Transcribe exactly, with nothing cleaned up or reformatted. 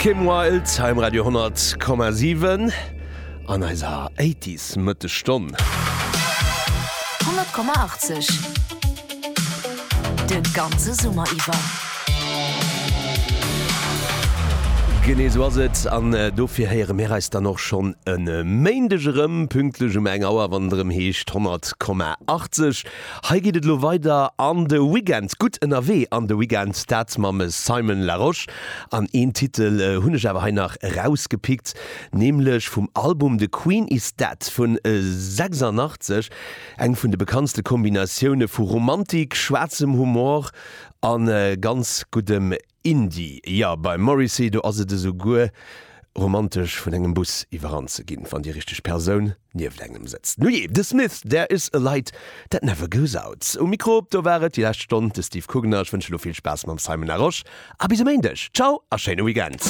Kim Wilde hei um Radio honnert Komma siwen an eiser Eighties Mëttesstonn. honnert Komma achtzeg De ganze Summer iwwer. Genee esou ass et, an dofir héiere mir eis dann och schonn e Méindeg erëm, pünktlech um eng Auer, wann et erëm heescht honnert Komma achtzeg. Hei geet et elo weider an de Weekend, gutt ënnerwee an de Weekend, dat mam Simon Larosche. An een Titel hunn ech awer hei nach erausgepickt, nämlech vum Album The Queen Is Dead vun sechsundachtzeg, eng vun de bekanntste Kombinatioune vu Romantik, schwaarzem Humor a ganz guddem Indie. Jo, beim Morrissey, do ass et esouguer romantesch vun engem Bus iwwerrannt ze ginn, wann déi richteg Persoun nieft engem sëtzt. Nujee, The Smiths, There Is A Light That Never Goes Out. Um Mikro, do war et déi lescht Stonn de Steve Kugener. Ech wënsche lo vill Spaass mam Simon Larosche a bis e Méindeg. Ciao a schéine Weekend.